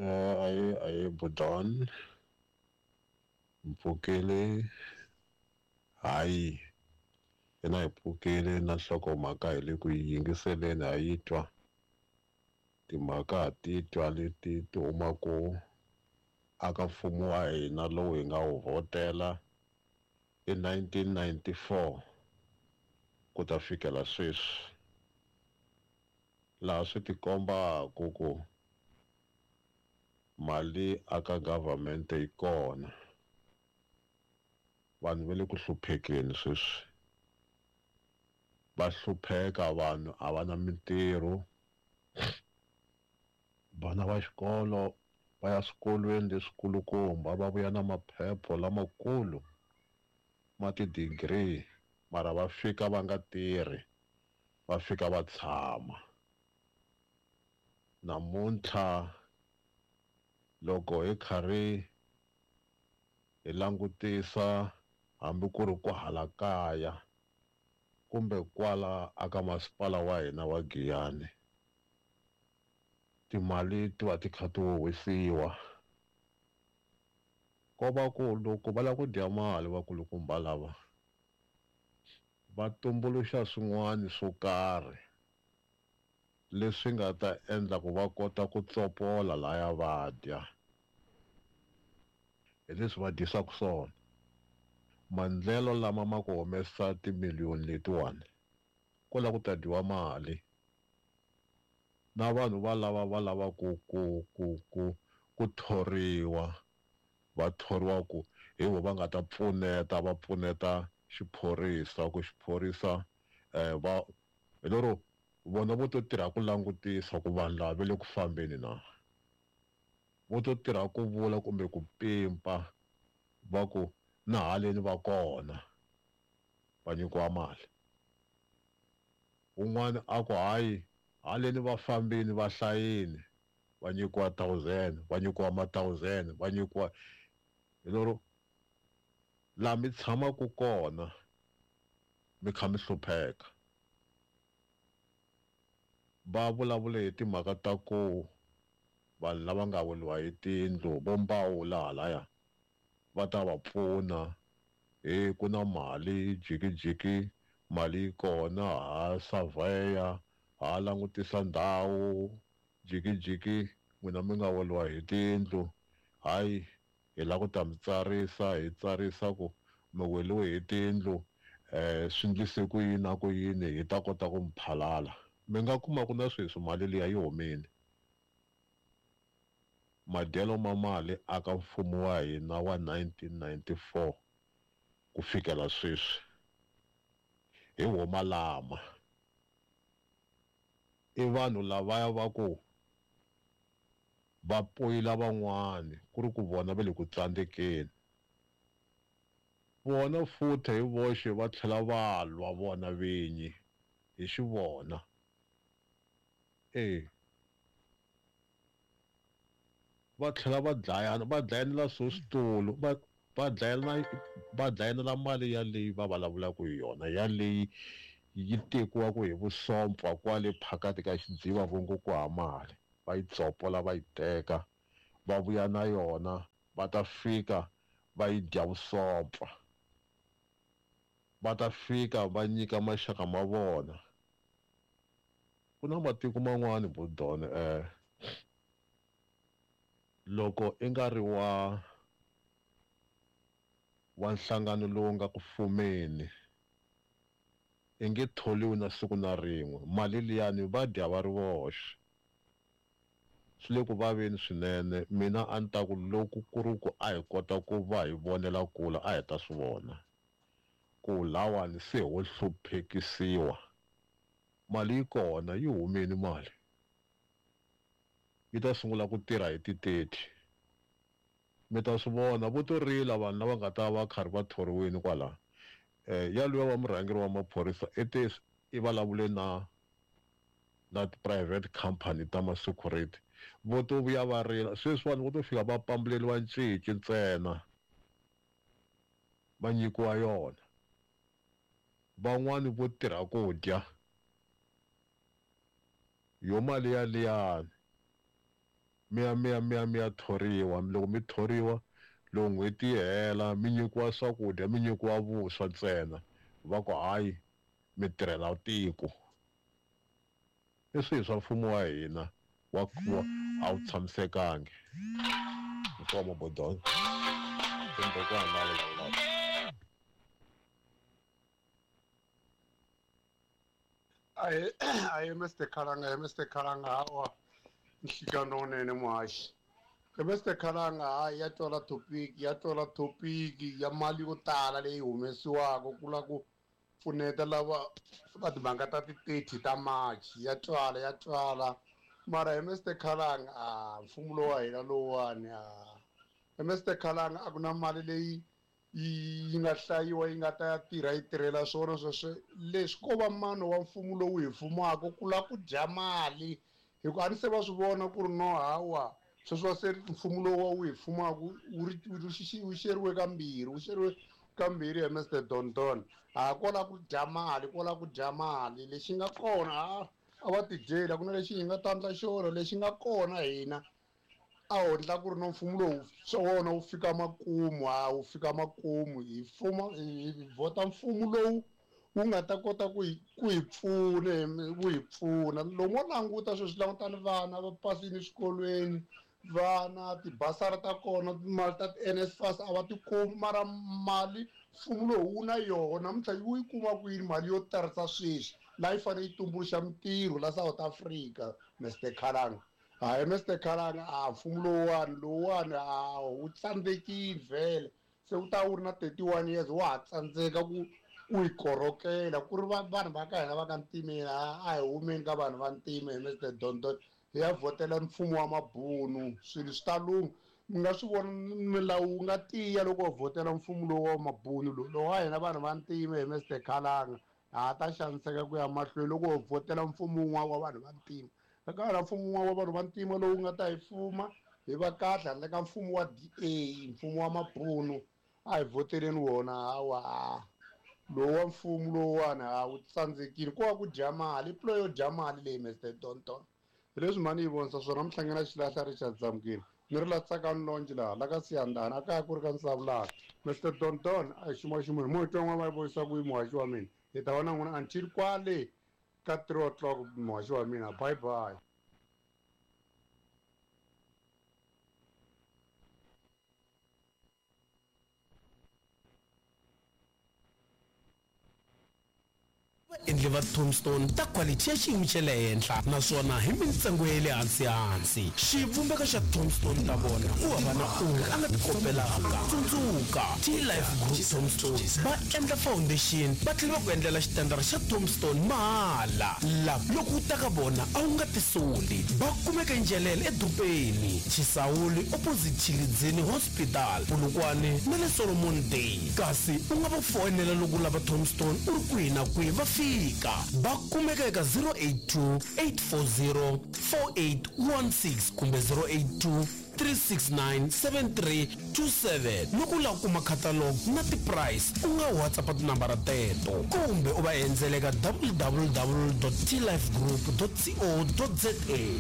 Ayi Budon mpfukile hayi yena hi pfukile na nhlokomhaka hi le ku yi yingiseleni ha yi twa timhaka ha ti twa leti ti humaku aka mfumo wa hina lowu hi nga wu vhotela hi 1994 ku ta fikela sweswi laha swi tikombaku ku mali aka government yi kona vanhu va le ku hluphekeni sweswi va hlupheka vanhu a va na mintirho vana va xikolo va ya swikolweni leswikulukumba va vuya na maphepha lamakulu ma ti-degree mara va fika va nga tirhi va fika va tshama namuntlha loko hi karhi hi langutisa hambi ku ri ku hala kaya kumbe kwala aka masipala wa hina wa Giyani timali ti va ti kha ti huhwisiwa ko va ku loko va lava ku dya mali vakulukumba lava va tumbuluxa swin'wana swo karhi leswi nga ta endla ku va kota ku tsopola laya va dya hi leswi va dyisaka swona maendlelo lama ma ku humesa timiliyoni letiwani ko lava ku ta dyiwa mali na vanhu va lava va lava ku ku ku ku ku thoriwa va thoriwa ku hi vo va nga ta pfuneta va pfuneta xiphorisa ku xiphorisa va hi lero vona vo to tirha ku langutisa ku vanhu lava va le ku fambeni na vo to tirha ku vula kumbe ku pimpa va ku na haleni va kona va nyikiwa mali un'wana a ku hayi haleni va fambini va hlayini va nyikiwa 1000 va nyikiwa ma 1000 va nyikiwa hi lero laha mi tshamaka kona mi kha mi hlupheka va vulavule hi timhaka ta ku vanhu lava nga weliwa hi tindlu vo mbawula halaya va ta va pfuna hi ku na mali jikijiki mali yi kona ha surveyor ha langutisa ndhawu jikijiki n'wina mi nga weliwa hi tindlu hayi hi lava ku ta mi tsarisa hi tsarisa ku mi weliwe hi tindlu swi ndlise ku yini na ku yini hi ta kota ku mi phalala mi nga kuma ku na sweswi mali liya yi humile madyelo ma mali aka mfumo wa hina wa 1994 ku fikela sweswi hi huma lama i vanhu lavaya va ku va poyila van'wani ku ri ku vona va le ku tsandzekeni vona futhi hi voxe va tlhela va lwa vona vinyi hi xivona va tlhela va dlayana va dlayanela swo switulu va dlayanela mali yaleyi va vulavulaka hi yona yaleyi yi tekiwaka hi vusompfa kwale phakati ka xidziva vongo ku ha mali va yi tsopola va yi teka va vuya na yona va ta fika va yi dya vusompfa va ta fika va nyika maxaka ma vona ku na matiko man'wani Budon loko i nga ri wa nhlangano lowu nga ku fumeni i nge tholiwi na siku na rin'we mali liyani va dya va ri voxe swi le ku vaveni swinene mina a ni ta ku loko ku ri ku a hi kota ku va hi vonela kula a hi ta swi vona ku lawani se ho hluphekisiwa mali yi kona yi humile mali yi ta sungula ku tirha hi ti-30 mi ta swi vona vo to rila vanhu lava nga ta va karhi va thoriwile kwala yaluya wa murhangeri wa maphorisa i te i vulavule na ti-private company ta ma-security vo to vuya va rila sweswi vanhu vo to fika va pambuleriwa ncece ntsena va nyikiwa yona van'wani vo tirha ku dya yo mali yaliyani. Mi ya mi ya mi ya mi ya thoriwa, loko mi thoriwa loko n'hweti yi hela mi nyikiwa swakudya, mi nyikiwa vuswa ntsena, va ku hayi mi tirhela tiko. I swihi swa mfumo wa hina wa wa a wu tshamisekangi. Inkomu Bodon. Kumbe ku hava la vulavulaka. Ahe ahe Mr Khalanga he Mr Khalanga hawa nhlikano wunene muhaxi he Mr Khalanga hayi ya twala topic ya twala topic ya mali yo tala leyi humesiwaka ku la ku pfuneta lava va timhaka ta ti-30 ta March ya twala ya twala mara he Mr Khalanga a mfumo lowu wa hina lowuwani a he Mr Khalanga a ku na mali leyi yi nga hlayiwa yi nga ta ya tirha yi tirhela swona sweswo leswi ko va mano wa mfumo lowu hi fumaka ku lava ku dya mali hi ku a ni se va swi vona ku ri no hawa sweswi wa se mfumo lowu wu hi fumaka wu ri wu xeriwe kambirhi wu xeriwe kambirhi hi Mr Don Don ha ko lava ku dya mali ko lava ku dya mali lexi nga kona a a va tidyeli a ku na lexi hi nga ta endla xona lexi nga kona hina a ho ndla ku ri no mfumo lowu swa wona wu fika makumu a wu fika makumu hi fuma hi vhota mfumo lowu wu nga ta kota ku hi ku hi pfuna wu hi pfuna lomu wo languta sweswi langutani vana va pasini eswikolweni vana tibasari ta kona timali ta ti-N_S_F_A_S a va ti kumi mara mali mfumo lowu wu na yona namuntlha wu yi kuma kwini mali yo tarisa sweswi laha yi fanele yi tumbuluxa mintirho la South Africa Mister Khalanga hayi Mister Khalanga a mfumo lowuwani lowuwani a wu tsandzekile vhele se wu ta wu ri na 31 years wa ha tsandzeka ku ku yi korhokela ku ri vanhu va ka hina va ka ntimeni a hi humeni ka vanhu va ntima hi Mister Don Don hi ya vhotela mfumo wa mabunu swilo swi ta lungha mi nga swi vona milawu wu nga tiya loko ho vhotela mfumo lowu wa mabunu lowu lowu wa hina vanhu va ntima hi Mister Khalanga ha ta xaniseka ku ya mahlweni loko ho vhotela mfumo wun'wana wa vanhu va ntima ka hina mfumo wun'wana wa vanhu va ntima lowu nga ta hi fuma hi va kahle handle ka mfumo wa D_A mfumo wa mabunu a hi vhoteleni wona hawa lowu wa mfumo lowuwani ha wu tsandzekile ko va ku dya mali i yo dya mali leyi Mister Don Don hi leswi mhani yi vonisa swona muhlangana xilahla Richard Zamukile ni ri la Tsakani Longe laha la ka Siyandhani a kaya ku ri ka Nsavulana Mister Don Don a hi xuma ximunhu mo hi twa n'wana va yi vonisa ku yi muhaxi wa mina hi ta va na n'wina until kwale ka 3 o'clock muhaxi wa mina bye bye. Vaendli va tombstone ta khwalithi ya xiyimo xa le henhla naswona hi mintsengo ya le hansi-hansi. Xivumbeko xa tombstone ta vona ku hava na un'we a nga ti kopelaka. Tsundzuka, T-Life Group Tombstone va endla foundation va tlhela va ku endlela xitandara xa tombstone mahala. La loko u ta ka vona a wu nga tisoli. Va kumeka eNjelele edorobeni, Chisawuli opposite Tshilidzini Hospital, Polokwane na le Solomon Day. Kasi u nga va foyinela loko u lava tombstone u ri kwihi na kwihi va fika. Va kumeka eka 082 840 4816 kumbe 082 369 7327. Loko u lava ku kuma catalog na ti-price u nga WhatsApp tinambara teto kumbe u va endzela eka www.tlifegroup.co.za.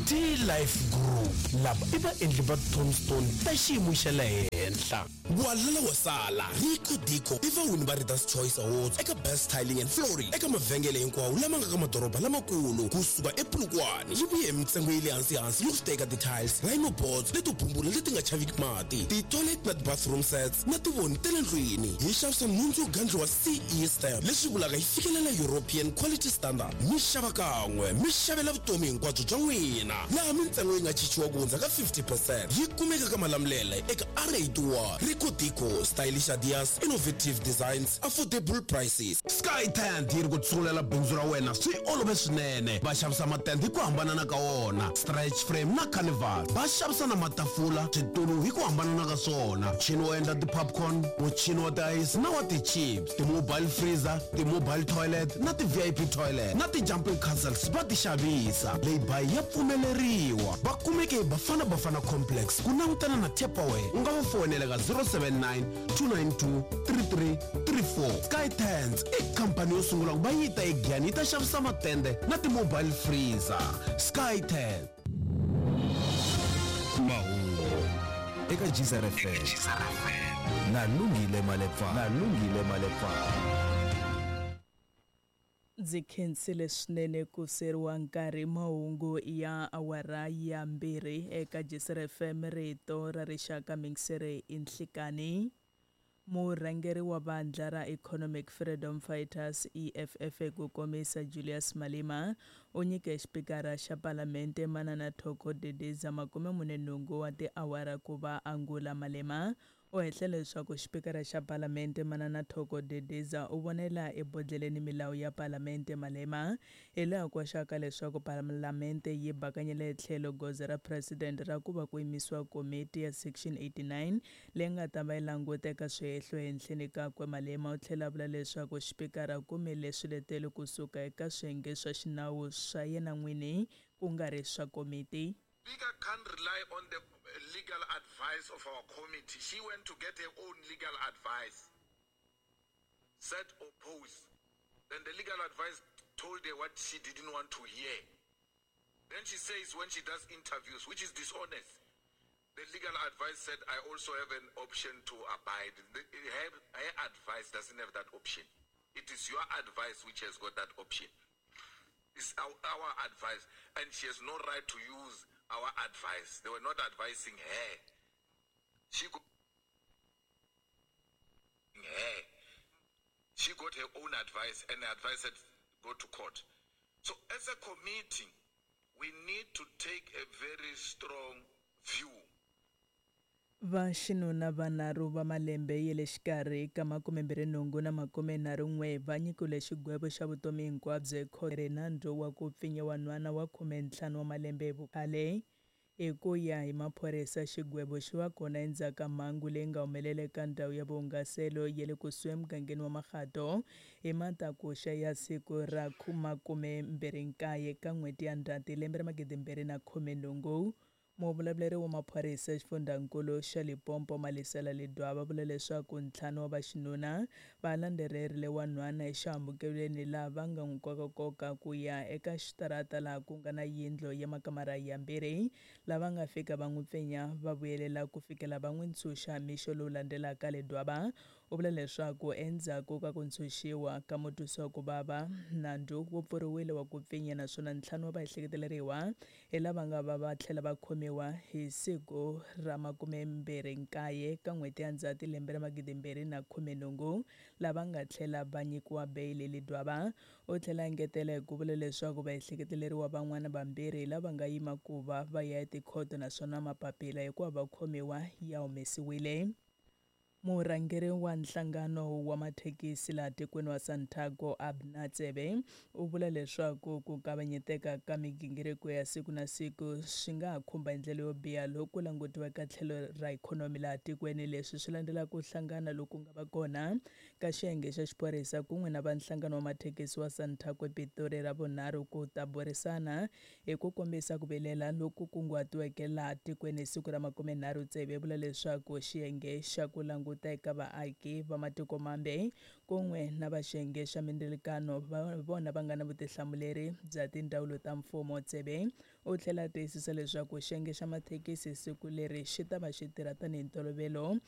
T-Life Group, lava i vaendli va tombstone ta xiyimo xa le henhla. Walala wa sala, Rico Dico i vawini va Readers Choice Awards eka Best Tiling and Flooring eka mavhengele hinkwawo lama nga ka madoroba lamakulu kusuka ePolokwane. Yi vuye hi mintsengo ya le hansi-hansi loko swi ta eka ti-tiles, rhino boards leto bumbula leti nga chaviki mati, ti-toilet na ti-bathroom sets na tivoni ta le ndlwini. Hi xavisa nhundzu yo gandliwa CE stamp, leswi vulaka yi fikelela European Quality Standard. Mi xava kan'we, mi xavela vutomi hinkwabyo bya n'wina, laha mintsengo yi nga chichiwa ku hundza ka 50 percent. Yi kumeka ka Malamulele eka R81. Rico Dico, stylish ideas, innovative designs, affordable prices. Sky Tent yi ri ku tshungulela bindzu ra wena swi olove swinene. Va xavisa matende hi ku hambanana ka wona, stretch frame na carnival. Va xavisa na matafula, switulu hi ku hambanana ka swona, muchini wo endla ti-popcorn, muchini wa tiayisi na wa ti-chips, ti-mobile freezer, ti-mobile toilet na ti-V_I_P toilet na ti-jumping castles va ti xavisa. Lay-by ya pfumeleriwa. Va kumeke hi Bafana Bafana Complex ku langutana na Tupperware. U nga va foyinela ka 079 292 3334. Sky Tents i khampani yo sungula ku va yi ta eGiyani yi ta xavisa matende na ti-mobile freezer. Sky Tent. Mahungu eka Geyser FM na Lungile Malepfana. Na Lungile Malepfana. Ndzi khensile swinene ku seriwa nkarhi. Mahungu ya awara ya 2 eka Geyser FM, rito ra rixaka, mingisere i nhlikani. Murhangeri wa vandla ra Economic Freedom Fighters, EFF ku komisa, Julius Malema, u nyike xipikara xa Palamente Manana Thoko Didiza 48 wa tiawara ku va angula. Malema u hehle leswaku xipikara xa Palamente Manana Thoko Didiza u vonela ebodlheleni milawu ya Palamente. Malema hi laha koxaka leswaku Palamente yi bakanyele tlhelo goza ra president ra ku va ku yimisiwa komiti ya Section 89 leyi nga ta va yi languta eka swihehlo ehenhleni kakwe. Malema u tlhela a vula leswaku xipikara kumile swiletelo kusuka eka swiyenge swa xinawu swa yena n'wini, ku nga ri swa komiti. Speaker can't rely on the legal advice of our committee. She went to get her own legal advice. Said oppose. Then the legal advice told her what she didn't want to hear. Then she says when she does interviews, which is dishonest, the legal advice said, I also have an option to abide. Her advice doesn't have that option. It is your advice which has got that option. It's our advice. And she has no right to use our advice. They were not advising her. She got her own advice, and the advice said go to court. So as a committee, we need to take a very strong view. Vaxinuna vanharhu va malembe ya le xikarhi ka 28 na 31 va nyikiwile xigwevo xa vutomi hinkwabyo ekhoto nandzu wa ku pfinya wanhwana wa 15 wa malembe hi vukhale. Hi ku ya hi maphorisa, xigwevo xi va kona endzhaku ka mhangu leyi nga humelela eka ndhawu ya vuhungaselo ya le kusuhi emugangeni wa Makgato hi matakuxa ya siku ra 29 ka n'hweti ya Ndzhati lembe ra 2018. Muvulavuleri wa maphorisa xifundzankulu xa Limpopo Malesela Ledwaba vula leswaku 5 wa vaxinuna va landzelerile wanhwana exihambukelweni laha va nga n'wi kokakoka ku ya eka xitarata laha ku nga na yindlu ya makamara ya 2, lava nga fika va n'wi pfinya va vuyelela ku fikela va n'wi ntshunxa mixo lowu landzelaka. Ledwaba u vula leswaku endzhaku ka ku ntshunxiwa ka mutwisiwa ku vava, nandzu wu pfuriwile wa ku pfinya, naswona 5 wa vaehleketeleriwa hi lava nga va tlhela va khomiwa hi siku ra 29 ka n'hweti ya Ndzhati lembe ra 2018, lava nga tlhela va nyikiwa beyili. Ledwaba u tlhela engetela hi ku vula leswaku vaehleketeleriwa van'wana vambirhi lava nga yima ku va va ya etikhoto, naswona mapapila hikuva va khomiwa ya humesiwile. Murhangeri wa nhlangano wa mathekisi laha tikweni wa Santaco, Abner Tsebe, u vula leswaku ku kavanyeteka ka migingiriko ya siku na siku swi nga ha khumba hi ndlela yo biha loko langutiwa eka tlhelo ra ikhonomi laha tikweni. Leswi swi landzela ku hlangana loku nga va kona ka xiyenge xa xiphorisa kun'we na va nhlangano wa mathekisi wa Santaco ePitori ra vunharhu ku ta burisana hi ku kombisa ku vilela loku kunguhatiweke laha tikweni hi siku ra 30. Tsebe vula leswaku xiyenge xa ku languta eka vaaki va matiko mambe kun'we na va xiyenge xa mindzilikano vona va nga na vutihlamuleri bya tindzawulo ta mfumo. Tsebe u tlhela a tiyisisa leswaku xiyenge xa mathekisi siku leri xi ta va xi tirha tanihi ntolovelo.